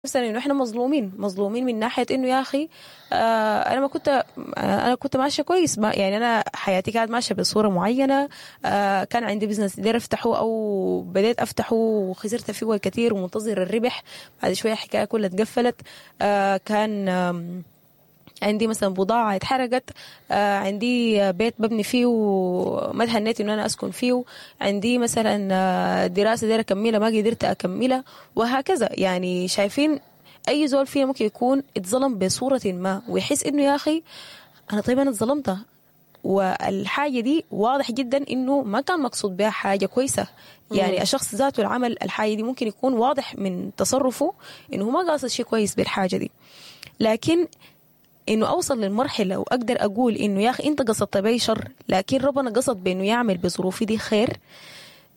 نفسنا انه احنا مظلومين، مظلومين من ناحية انه يا اخي انا ما كنت، انا كنت ماشية كويس، ما يعني انا حياتي كانت ماشية بصورة معينة، كان عندي business داير افتحه او بديت افتحه وخسرت فيه الكثير ومنتظر الربح، بعد شوية الحكاية كلها اتقفلت، كان عندي مثلا بضاعة اتحرقت، عندي بيت ببني فيه وما تهنيت انه انا اسكن فيه، عندي مثلا دراسة دايرة اكملها ما قدرت اكملها، وهكذا. يعني شايفين اي زول فينا ممكن يكون اتظلم بصورة ما ويحس انه يا اخي انا طيب انا اتظلمت، والحاجة دي واضح جدا انه ما كان مقصود بها حاجة كويسة. يعني الشخص ذاته العمل الحاجة دي ممكن يكون واضح من تصرفه انه ما قاصد شيء كويس بالحاجة دي، لكن انه اوصل للمرحلة واقدر اقول انه يا اخي انت قصدت بي شر لكن ربنا قصد بانه يعمل بظروفي دي خير،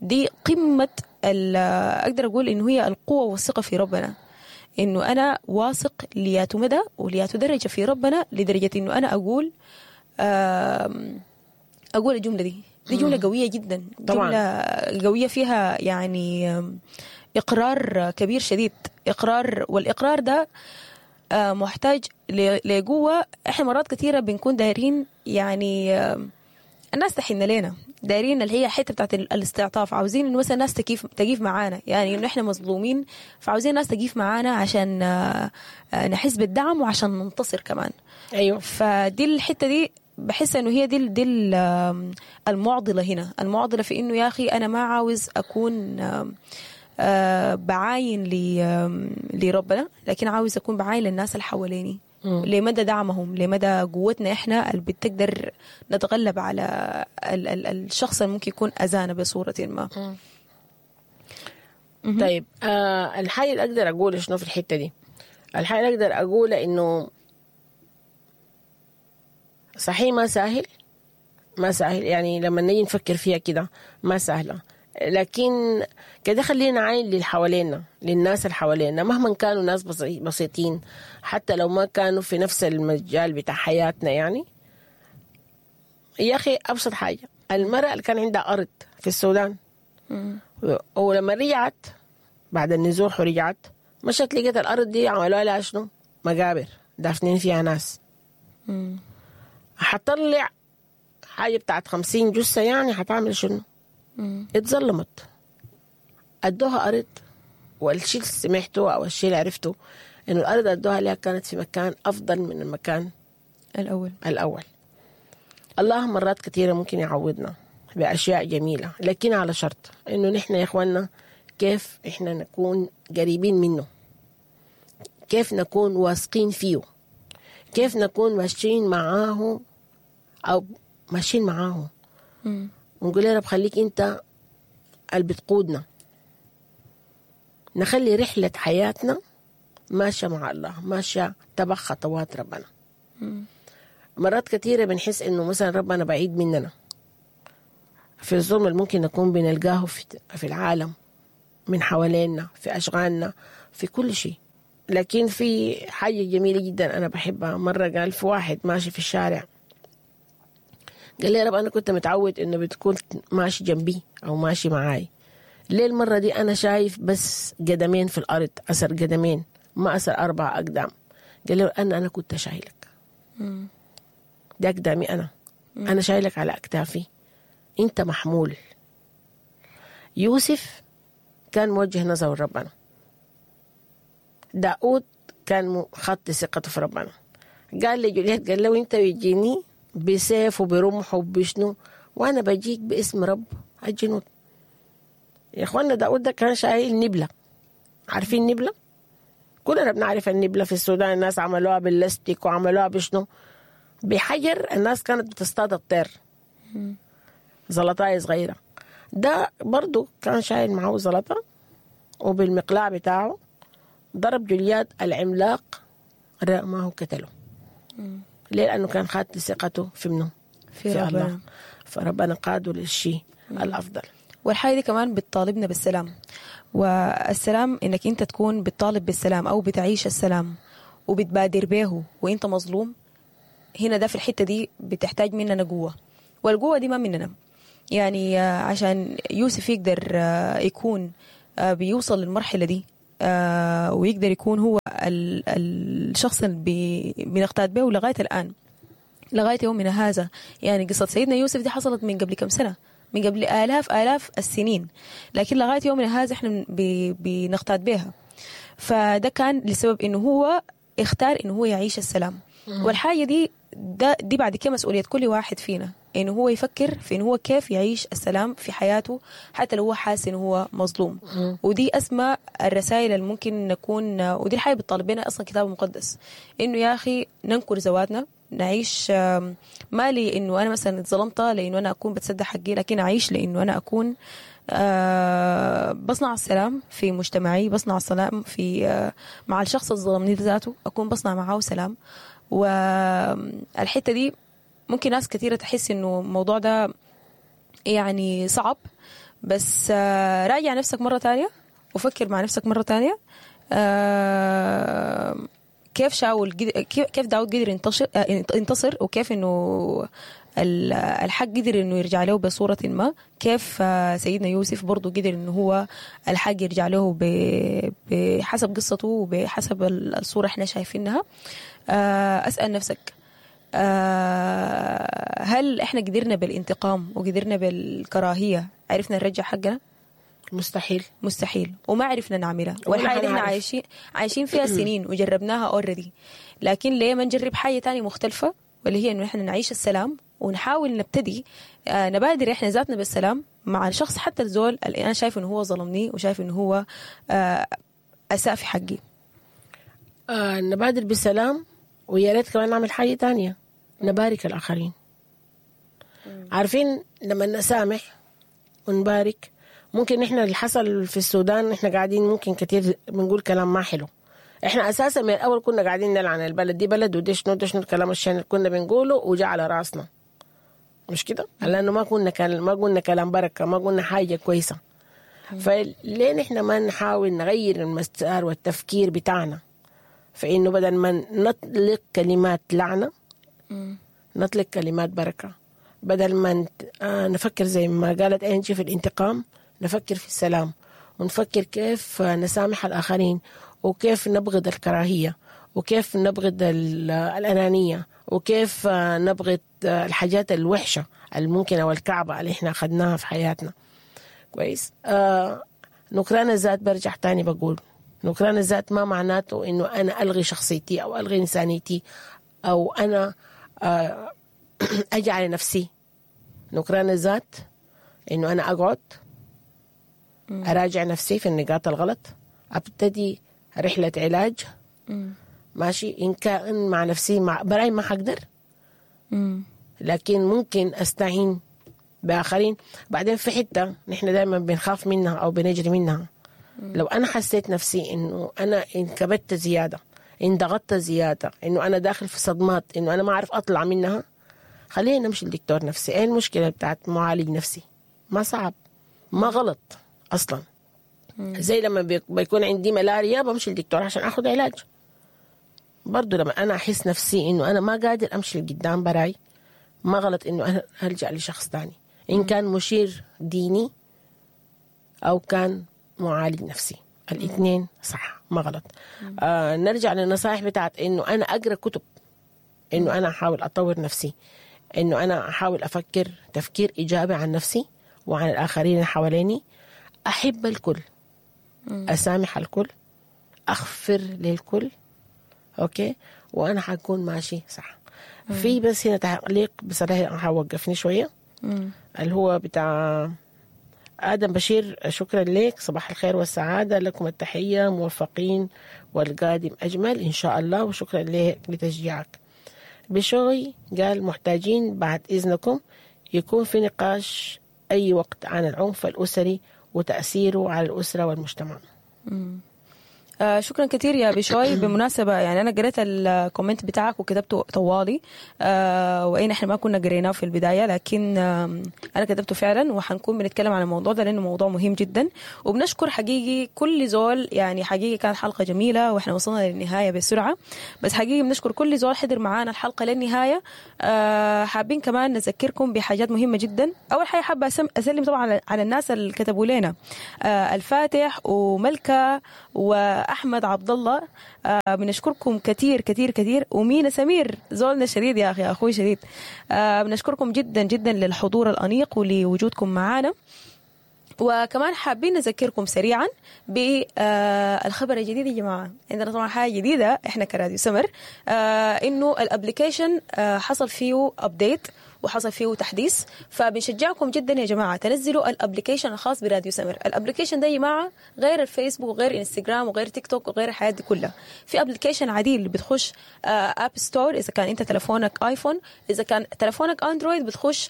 دي قمة اقدر اقول انه هي القوة والثقة في ربنا، انه انا واثق لياتو مدى ولياتو درجه في ربنا، لدرجة انه انا اقول اقول الجملة دي جملة قوية جدا، طبعا جملة قوية فيها يعني اقرار كبير شديد، اقرار، والاقرار ده محتاج لقوة. احنا مرات كثيرة بنكون دايرين يعني الناس تحن لنا، دايرين اللي هي حتة بتاعت الاستعطاف، عاوزين انه مثلا الناس تقيف معانا، يعني انه احنا مظلومين فعاوزين الناس تقيف معانا عشان نحس بالدعم وعشان ننتصر كمان. ايوه، فدي الحتة دي بحس انه هي دي المعضلة هنا، المعضلة في انه يا اخي انا ما عاوز اكون بعاين لربنا، لكن عاوز أكون بعاين للناس اللي حواليني، لمدى دعمهم، لمدى قوتنا إحنا اللي بتقدر نتغلب على الشخص اللي ممكن يكون أذانا بصورة ما. طيب الحاجة اللي أقدر أقوله شنو في الحتة دي؟ الحاجة اللي أقدر أقوله إنه صحيح ما سهل، ما سهل، يعني لما نيجي نفكر فيها كده ما سهلة، لكن كده خلينا نعاين للي حوالينا، للناس اللي حوالينا، مهما كانوا ناس بسيطين، حتى لو ما كانوا في نفس المجال بتاع حياتنا. يعني يا أخي أبسط حاجة، المرأة اللي كان عندها أرض في السودان ولما رجعت بعد النزوح ورجعت مشت لقيت الأرض دي عملوها لها شنو؟ مقابر دافنين فيها ناس. حتطلع حاجة بتاعت 50 جثة، يعني حتعمل شنو؟ اتظلمت، ادوها ارض، والشيء اللي سمعته او الشيء اللي عرفته انه الارض ادوها لها كانت في مكان افضل من المكان الاول. الله مرات كثيرة ممكن يعوضنا باشياء جميلة، لكن على شرط انه نحن يا اخواننا كيف احنا نكون قريبين منه، كيف نكون واثقين فيه، كيف نكون ماشيين معاه او ماشيين معاه، ونقول يا رب خليك انت اللي بتقودنا، نخلي رحلة حياتنا ماشية مع الله، ماشية تبع خطوات ربنا. مرات كثيرة بنحس انه مثلا ربنا بعيد مننا في الظلم اللي ممكن نكون بنلقاه في العالم من حوالينا، في أشغالنا، في كل شيء. لكن في حاجة جميلة جدا أنا بحبها، مرة قال في واحد ماشي في الشارع قال لي يا رب أنا كنت متعود إنه بتكون ماشي جنبي أو ماشي معاي، ليه المرة دي أنا شايف بس قدمين في الأرض، أثر قدمين ما أثر 4 أقدام؟ قال له أنا كنت شايلك، ده أقدامي أنا شايلك على أكتافي، أنت محمول. يوسف كان موجه نظره لربنا، داود كان خط ثقته في ربنا، قال لجوليت قال له أنت بيجيني بسيف وبرمح وبشنو، وانا بجيك باسم رب الجنود. يا اخوانا داود ده كان شايل نبله، عارفين نبله؟ كلنا بنعرف النبله في السودان، الناس عملوها باللاستيك وعملوها بشنو، بحجر، الناس كانت بتصطاد الطير، زلطايه صغيرة. ده برضو كان شايل معه زلطه، وبالمقلاع بتاعه ضرب جوليات العملاق رماه قتله. ليه؟ لأنه كان خاط ثقته في منه؟ في الله. فربنا قاده للشيء الأفضل. والحاجة دي كمان بتطالبنا بالسلام، والسلام إنك أنت تكون بتطالب بالسلام أو بتعيش السلام وبتبادر به وإنت مظلوم. هنا ده في الحتة دي بتحتاج مننا قوة، والقوة دي ما مننا. يعني عشان يوسف يقدر يكون بيوصل للمرحلة دي ويقدر يكون هو الشخص اللي بنقتاد به لغاية الآن، لغاية يومنا هذا. يعني قصة سيدنا يوسف دي حصلت من قبل كم سنة، من قبل آلاف السنين، لكن لغاية يومنا هذا احنا بنقتاد بها. فده كان لسبب انه هو اختار انه هو يعيش السلام. والحاجة دي بعد كده مسؤولية كل واحد فينا، انه هو يفكر في انه هو كيف يعيش السلام في حياته حتى لو هو حاسس انه هو مظلوم. ودي اسمى الرسائل اللي ممكن نكون، ودي الحاجة بتطالب بنا اصلا الكتاب المقدس، انه يا اخي ننكر ذواتنا، نعيش ما لي انه انا مثلا اتظلمت لانه انا اكون بتصدق حقي، لكن اعيش لانه انا اكون بصنع السلام في مجتمعي، بصنع السلام في مع الشخص اللي ظلمني ذاته، اكون بصنع معاه سلام. والحتة دي ممكن ناس كثيرة تحس انه الموضوع ده يعني صعب، بس راجع نفسك مرة تانية وفكر مع نفسك مرة تانية، كيف شاول كيف داود قدر ينتصر، وكيف انه الحق قدر انه يرجع له بصورة ما، كيف سيدنا يوسف برضو قدر انه هو الحق يرجع له بحسب قصته وبحسب الصورة احنا شايفينها. اسأل نفسك، هل احنا قدرنا بالانتقام وقدرنا بالكراهية عرفنا نرجع حقنا؟ مستحيل، مستحيل، وما عرفنا نعملها. والحاجة احنا عايشين فيها سنين وجربناها already، لكن ليه ما نجرب حاجة تانية مختلفة، واللي هي انه احنا نعيش السلام ونحاول نبتدي نبادر احنا ذاتنا بالسلام مع الشخص، حتى الزول اللي انا شايف انه هو ظلمني وشايف انه هو اساء في حقي. نبادر بالسلام، ويا ريت كمان نعمل حاجة تانية، نبارك الآخرين. عارفين لما نسامح ونبارك، ممكن احنا اللي حصل في السودان احنا قاعدين ممكن كتير بنقول كلام ما حلو. احنا اساسا من الاول كنا قاعدين نلعن البلد دي، بلد ودي شنو دي شنو الكلام الشين اللي كنا بنقوله وجا على راسنا، مش كده؟ لانه ما قلنا كلام بركة، ما قلنا حاجة كويسة. فليه نحن ما نحاول نغير المسار والتفكير بتاعنا، فانه بدل ما نطلق كلمات لعنه نطلق كلمات بركة، بدل ما نفكر زي ما قالت انجي في الانتقام، نفكر في السلام، ونفكر كيف نسامح الآخرين، وكيف نبغض الكراهية، وكيف نبغض الأنانية، وكيف نبغض الحاجات الوحشة الممكنة والكعبة اللي احنا أخذناها في حياتنا. كويس. نكران الذات، برجع تاني بقول نكران الذات ما معناته إنه أنا ألغي شخصيتي أو ألغي إنسانيتي أو أنا أجي على نفسي. نكران الذات إنه أنا أقعد أراجع نفسي في النقاط الغلط، أبتدي رحلة علاج. ماشي، إن كان مع نفسي مع براي ما حقدر، لكن ممكن أستعين بآخرين. بعدين في حتة نحن دائما بنخاف منها أو بنجري منها. لو أنا حسيت نفسي إنه أنا انكبت زيادة، انضغطت زيادة، إنه أنا داخل في صدمات، إنه أنا ما أعرف أطلع منها، خلينا نمشي للدكتور نفسي. إيه المشكلة بتاعت معالج نفسي؟ ما صعب، ما غلط أصلا. زي لما بيكون عندي ملاريا بمشي للدكتور عشان أخذ علاج. برضو لما أنا أحس نفسي إنه أنا ما قادر أمشي لقدام براي، ما غلط إنه أنا ألجأ لشخص تاني، إن كان مشير ديني أو كان معالج نفسي، الاثنين صح، ما غلط. نرجع للنصائح بتاعت إنه أنا أقرأ كتب، إنه أنا أحاول أطور نفسي، إنه أنا أحاول أفكر تفكير إيجابي عن نفسي وعن الآخرين اللي حواليني، أحب الكل، أسامح الكل، أغفر للكل، أوكي، وأنا حكون ماشي صح. في بس هنا تعليق بصراحة حوقفني شوية، اللي هو بتاع آدم بشير. شكرا لك، صباح الخير والسعادة، لكم التحية، موفقين والقادم أجمل إن شاء الله، وشكرا لك لتشجيعك. بشوي قال محتاجين بعد إذنكم يكون في نقاش أي وقت عن العنف الأسري وتأثيره على الأسرة والمجتمع. شكرا كثير يا بشوي. بالمناسبة يعني أنا قريت ال comment بتاعك وكتبته طوالي، وإن إحنا ما كنا قريناه في البداية، لكن أنا كتبته فعلا، وحنكون بنتكلم عن الموضوع ده لأنه موضوع مهم جدا. وبنشكر حقيقي كل زول، يعني حقيقي كانت حلقة جميلة وإحنا وصلنا للنهاية بسرعة، بس حقيقي بنشكر كل زول حضر معانا الحلقة للنهاية. حابين كمان نذكركم بحاجات مهمة جدا. أول حاجة حابة أسلم طبعا على الناس اللي كتبوا لنا، الفاتح وملكة وأحمد عبد الله، بنشكركم كثير كثير كثير. ومينا سمير زولنا شديد يا أخي، أخوي شديد، بنشكركم جدا جدا للحضور الأنيق ولوجودكم معانا. وكمان حابين نذكركم سريعا بالخبر الجديد يا جماعة. عندنا طبعا حاجة جديدة احنا كراديو سمر، انه ال application حصل فيه update وحصل فيه تحديث، فبنشجعكم جدا يا جماعة تنزلوا ال application الخاص براديو سمر. ال application ده يا جماعة غير الفيسبوك وغير انستغرام وغير تيك توك وغير الحياة دي كلها، في application عديل بتخش App Store اذا كان انت تلفونك ايفون، اذا كان تلفونك اندرويد بتخش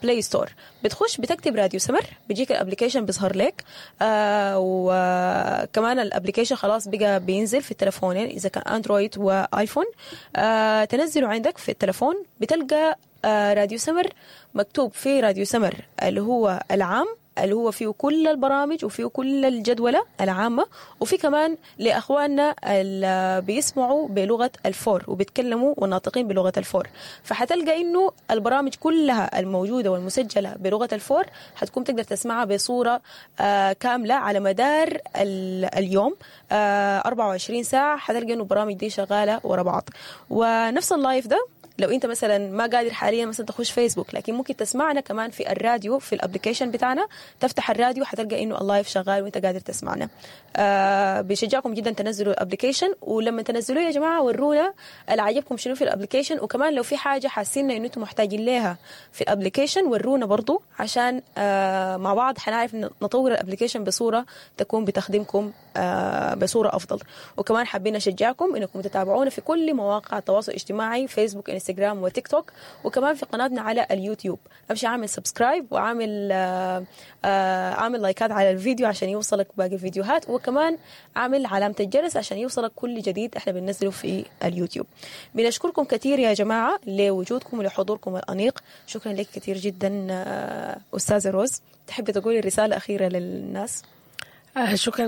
Play Store، بتخش بتكتب راديو سمر بيجيك ال application بيظهر لك. وكمان ال application خلاص بقى بينزل في التلفونين اذا كان اندرويد وايفون، تنزله عندك في التلفون بتلقى راديو سمر مكتوب في راديو سمر اللي هو العام، اللي هو فيه كل البرامج وفيه كل الجدولة العامة، وفي كمان لأخواننا اللي بيسمعوا بلغة الفور وبيتكلموا والناطقين بلغة الفور، فحتلقى إنه البرامج كلها الموجودة والمسجلة بلغة الفور حتكون تقدر تسمعها بصورة كاملة على مدار اليوم، 24 ساعة حتلقى إنه البرامج دي شغالة ورا بعض. ونفس ال live ده لو انت مثلا ما قادر حاليا مثلا تخش فيسبوك، لكن ممكن تسمعنا كمان في الراديو في ال application بتاعنا، تفتح الراديو حتلقى انه ال live شغال وانت قادر تسمعنا. بشجعكم جدا تنزلوا ال application، ولما تنزلوه يا جماعة ورونا اللي عجبكم شنو في ال application، وكمان لو في حاجة حاسين انه انتم محتاجين لها في ال application ورونا برضو، عشان مع بعض حنعرف نطور ال application بصورة تكون بتخدمكم بصورة افضل. وكمان حابين نشجعكم انكم تتابعونا في كل مواقع التواصل الاجتماعي، فيسبوك، انستغرام، وتيك توك، وكمان في قناتنا على اليوتيوب. امشي اعمل subscribe وعامل اعمل لايكات على الفيديو عشان يوصلك باقي الفيديوهات، وكمان اعمل علامة الجرس عشان يوصلك كل جديد احنا بننزله في اليوتيوب. بنشكركم كثير يا جماعة لوجودكم ولحضوركم الأنيق. شكرا لك كثير جدا أستاذة روز. تحبي تقولي رسالة أخيرة للناس؟ شكرا.